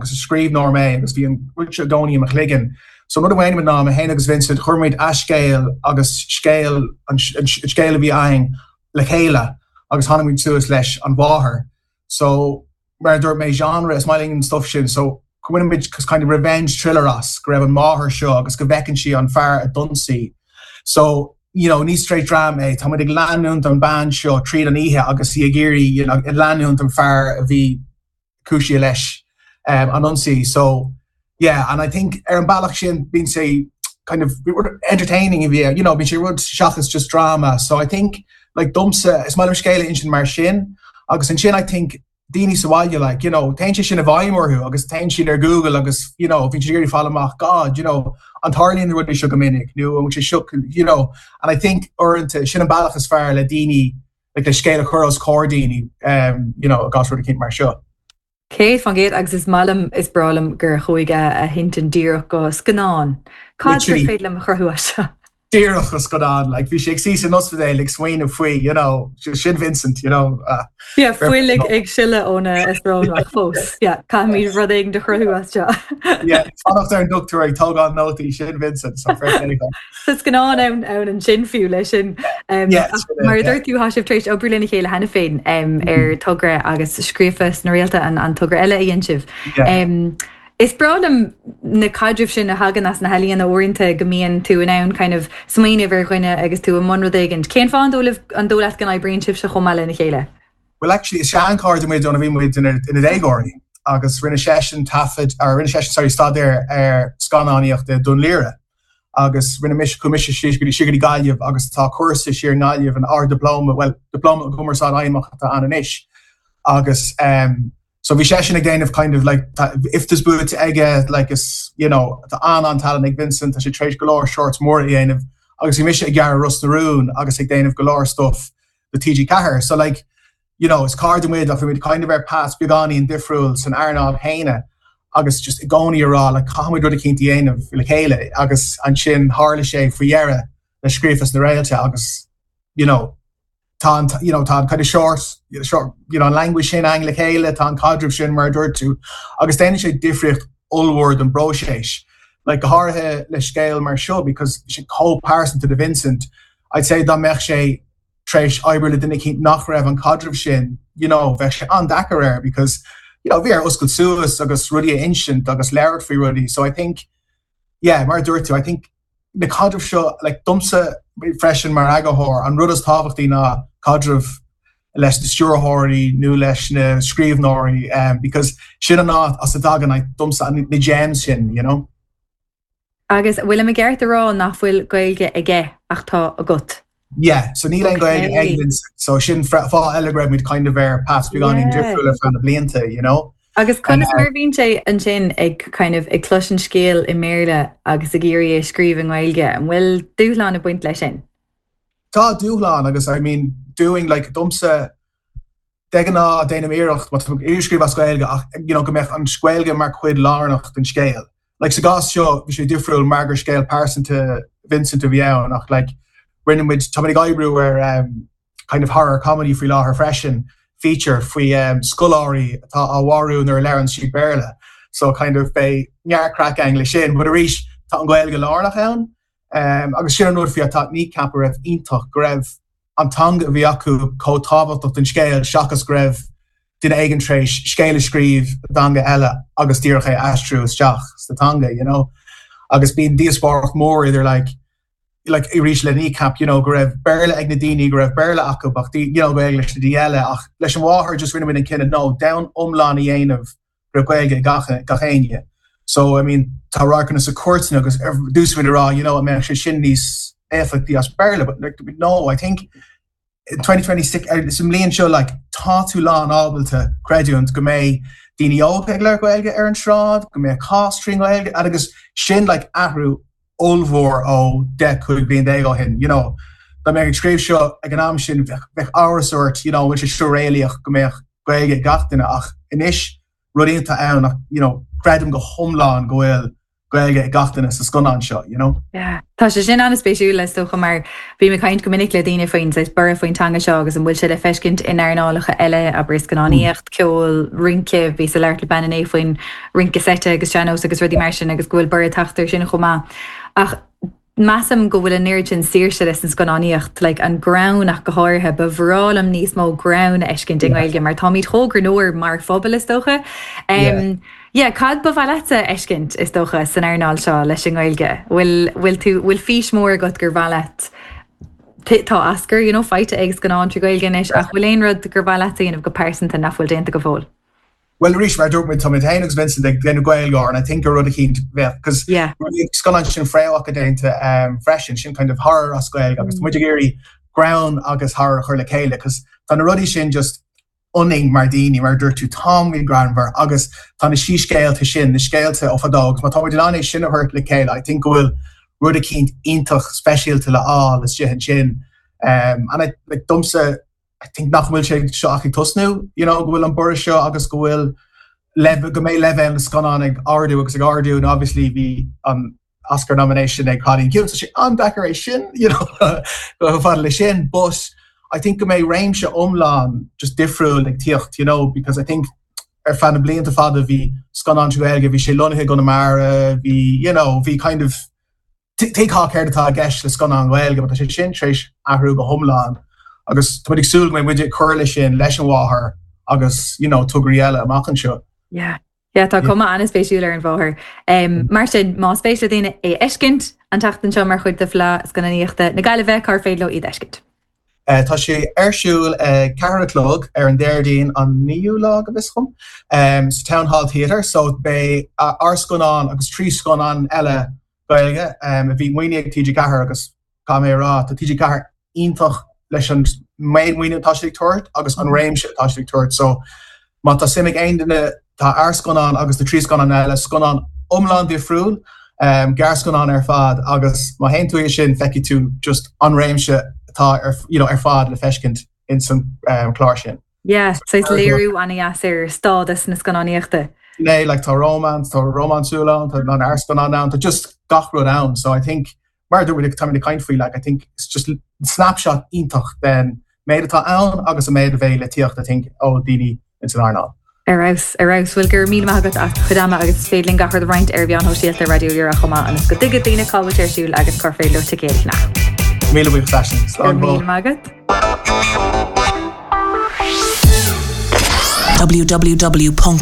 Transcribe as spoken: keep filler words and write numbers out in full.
Agus is scríbhneoir mé agus bhí an rud seo i gcónaí i mo chloigeann. So rud amháin ná mé féin agus Vincent chuir muid a scéal agus scéal an scéal a bhí againn le chéile agus tháinig muid suas leis an mháthair. So mar dúirt mé genre is maith linn an stuff sin so muid kind of revenge thriller as go raibh an máthair seo agus go bhfeiceann sí an fear a d'ionsaigh. So you know, ní straight drama é Tá ag leanúint an bean seo tríd an oíche agus í ag iarraidh you know, ag leanúint an fear a bhí cúisithe leis um, an ionsaí. So yeah, and I think ar an bealach sin bíonn sé kind of entertaining bhí you know, bíonn sé rud seachas just drama. So I think like domsa is maith liom scéal a insint mar sin agus ansin I think daoine sa bhaile like you know téann sé sin i bhfeidhm orthu agus téann siad ar Google agus you know bhí siad fáil amach God you know an dtarlaíonn rudaí seo go minic nó an sé seo you know and I think uaireanta sin an bealach is fearr le daoine like le scéal a chur os comhair daoine um, you know gas rud mar seo. Céad faoin gcéad agus is maith liom is breá liom gur chuaigh a hintinn díreach go scannán. Cad féidir liom a chruthú seo. Díreach go scannán, like bhí sé ag suí san ospidéal ag smaoineamh faoi you know, sin Vincent you know, uh, Yeah, fuil ag ag sileadh óna srónach fós. Yeah, Caithfimid rud éigin a chruthú as seo. yeah, fanacht ar an dochtúir ag tógáil nótaí sin Vincent so Tá scannán ann ann ansin fiú leis sin. Um, Yeah, sin é, Mar dúirt tú tá sibh tar éis obair lena chéile cheana féin um, ar togra agus scríofa sna réalta an, an togra eile a dhein sibh. Yeah. Um, Is breá liom na caidrimh sin a thagann as na healaíona uaireanta go mbíonn tú in ann kind of smaoineamh ar dhuine agus tú i mbun rud éigin. Cén fáth an dóigh leat go n-oibríonn sibh chomh maith lena chéile? Well actually is seanchairde muid óna bhí muid ina déagóirí agus rinne seisean taifead ar rinne seisean sorry staidéar ar scannánaíocht i Dún Laoghaire. agus rinne mise chuaigh mise siar go dtí go Gaillimh agus tá cúrsa siar i nGaillimh an Ard-Diplóma well diplóma cumarsáid fheidhmeach atá ann anois agus um, so bhí seisean ag déanamh kind of like IFTAs buaite aige like is you know tá an an-talent ag Vincent tá sé tar éis go leor shorts mór a dhéanamh agus bhí mise ag gearradh Ros na Rún agus ag déanamh go leor stuff the TG Ceathair so like you know is cairde muid ach muid kind of ar paths beagáinín difriúil san earnáil chéanna agus just i gcónaí a rá le caithfimid rud éicint a dhéanamh le chéile agus ansin tharla sé faoi dheireadh le scríofa sna réalta agus you know tá an you know tá kind of short short you know an language sin againn le chéile tá an caidreamh sin mar dúirt tú agus déanann sé difríocht ollmhór don bpróiseas like go háirithe le scéal mar seo because sé chomh pearsanta do Vincent I'd say dá mbeadh sé tar éis obair le duine éicint nach raibh an caidreamh sin you know bheadh sé an-deacair air because you know bhí air oscailt suas agus rudaí a insint agus labhairt faoi rudaí so I think yeah mar dúirt tú I think na caidrimh seo like domsa freisin mar eagarthóir an rud is tábhachtaí ná caidreamh leis na stiúrthóirí nó leis na scríbhneoirí um, because sin an áit as a dtagann like, domsa na gems sin you know Agus bhfuil mé ceart a rá nach bhfuil Gaeilge aige ach tá agat. Yeah, so níl aon Gaeilge Okay. ag Vincent so sin fáth eile go raibh muid kind of ar paths beagáinín Yeah. difriúil ar feadh na blianta you know Agus conas mar bhíonn sé ansin ag kind of ag cloisint scéal i mBéarla agus ag iarraidh é scríobh i nGaeilge, an bhfuil dúshlán ag baint leis sin? Tá dúshlán agus I mean doing like domsa de ghnáth déanaim iarracht má ag scríobh as Gaeilge ach you know, go mbeadh an Ghaeilge mar chuid lárnach den scéal. Like sa gcás seo bhí sé difriúil mar gur scéal pearsanta Vincent a bhí ann ach like rinne muid tá ag oibriú ar um, kind of horror comedy faoi láthair freisin feature faoi um, scoláirí atá á mharú nuair a labhraíonn siad Béarla. So kind of beidh neart craic againn le sin, but arís tá an Ghaeilge lárnach ann um, agus sin an rud faoi atá Kneecap a raibh iontach go raibh an teanga a bhí acu chomh tábhachtach don scéal seachas go raibh duine éigin tar éis scéal a scríobh i dteanga eile agus díreach é aistriú isteach sa teanga, you know. Agus bíonn díospóireacht mór idir like like arís le Kneecap, you know, go raibh Béarla ag na daoine go raibh Béarla acu ach you know, Gaeilge leis na daoine eile ach leis an mháthair just rinne muid an cinneadh no domhan iomlán a dhéanamh go raibh Gaeilge ag gach gach éinne. So I mean tá radharcanna sa chúirt agus ar dtús muid a rá you know, an mbeadh sé sin níos éifeachtaí as Béarla, but like, no, I think in twenty twenty-six sa mbliain seo like tá tú lán ábalta creidiúint go mbeidh daoine óga ag labhairt Gaeilge ar an sráid, go mbeidh cás trí Ghaeilge agus sin like athrú ollmhór ó deich cúig bliain déag ó shin, you know. Dá mbeadh ag scríobh seo ag an am sin bheadh bheadh amhras ort, you know, bhfuil sé seo réalaíoch go mbeadh Gaeilge ag gach duine ach anois rud iontach ann ach you know, creidim go hiomlán go bhfuil Gaeilge ag gach duine sa scannán seo, you know? Yeah. Tá sé sin an-spéisiúil is dócha mar bím ag caint go minic le daoine faoin saghas borradh faoin teanga seo agus an bhfuil sé le feiscint in earnálacha eile abair scannánaíocht, ceol, rince, bhíos ag labhairt le bean inné faoin rince seite agus sean-nós agus rudaí mar sin agus go bhfuil borradh ag teacht air sin chomh maith. Ach measaim go bhfuil an oiread sin saoirse leis an scannánaíocht, like an greann ach go háirithe, ba bhreá liom níos mó greann a fheiscint i nGaeilge mar táimid chomh greannmhar mar phobal is dócha. Um, yeah, cad ba mhaith leatsa a fheiscint is dócha san earnáil seo leis an nGaeilge? Bhfuil bhfuil tú bhfuil fís mór agat gur mhaith leat tá Oscar, you know, faighte ag scannán trí Ghaeilge anois ach bhfuil aon rud gur mhaith leat a dhéanamh go pearsanta nach bhfuil déanta go fóill? Well arís mar dúirt muid tá muid féin agus Vincent ag déanamh GaelGáire and I think gur rud eicínt bheadh cos Yeah. scannán sin Fréamhacha déanta um, freisin sin kind of horror as Gaeilge agus tá muid ag iarraidh greann agus horror a chur le chéile cos tá na rudaí sin just ionainn mar daoine mar dúirt tú táimid greannmhar agus tá na síscéalta sin na scéalta ó fadó agus má tá muid in ann é sin a thabhairt le chéile I think go bhfuil rud eicínt iontach speisialta le fháil istigh ansin um, and I, like, domsa I think nach bhfuil sé seo ach ag tosnú you know, go bhfuil an borradh seo agus go bhfuil go mbeidh leibhéal na scannán ag ardú agus ag ardú and obviously bhí an Oscar nomination ag Cailín Ciúin so sé an-deacair é sin you know, go fada le sin but I think go mbeidh réimse iomlán just difriúil ag tíocht you know, because I think ar feadh na blianta fada bhí scannán Gaeilge bhí sé lonnaithe i gConamara bhí you know, bhí kind of tuigtear céard atá i gceist le scannán Gaeilge, tá sé sin tar éis athrú go hiomlán agus tá ag súil go mbeidh muid ag cur leis sin leis an mháthair agus you know, tograí eile amach anseo. Yeah. Yeah, tá cuma an-spéisiúil ar an mháthair. Um, mar sin más spéis le daoine é a fheiscint an tseachtain seo mar chuid de Fleadh Scannánaíochta na Gaillimhe cár féidir leo iad a fheiscint. Uh, tá sé ar siúl uh, ceathair a chlog ar an Déardaoin an naoú lá go bhfios dom um, sa Town Hall Theatre, so beidh uh, ár scannán agus trí scannán eile Gaeilge um, a bhí maoinithe ag TG Ceathair agus cá mé rá tá TG Ceathair iontach leis an méid maoiniú atá siad ag tabhairt agus an réimse atá siad ag tabhairt so má tá suim ag aon duine tá ár scannán agus na trí scannán eile scannán iomlán difriúil um, gearrscannán ar fad agus má théann tú é sin feicfidh tú just an réimse atá ar, you know, ar fad le feiscint in san um, clár sin. Yeah, so léiriú an-deas ar stádas na scannánaíochta. Né like tá romance, tá rómánsúil ann, tá an gearrscannán ann, tá just gach rud ann, so I think mar dúirt tá na caint faoi like I think it's just snapshot iontach den méid atá ann agus an méid a bheidh le tíocht I think ó daoine in san earnáil. Ar fheabhas ar fheabhas bhfuil gur mí agat as chudama agus féidir linn gach rud a roinnt ar mheáin shóisialta Raidió Rí-Rá chomh maith ionas go dtuigfidh daoine cá bhfuil sé ar siúl agus cár féidir leo ticéid a cheannach. Míle buíochas Slán Míle maith agat. www.rrr.ie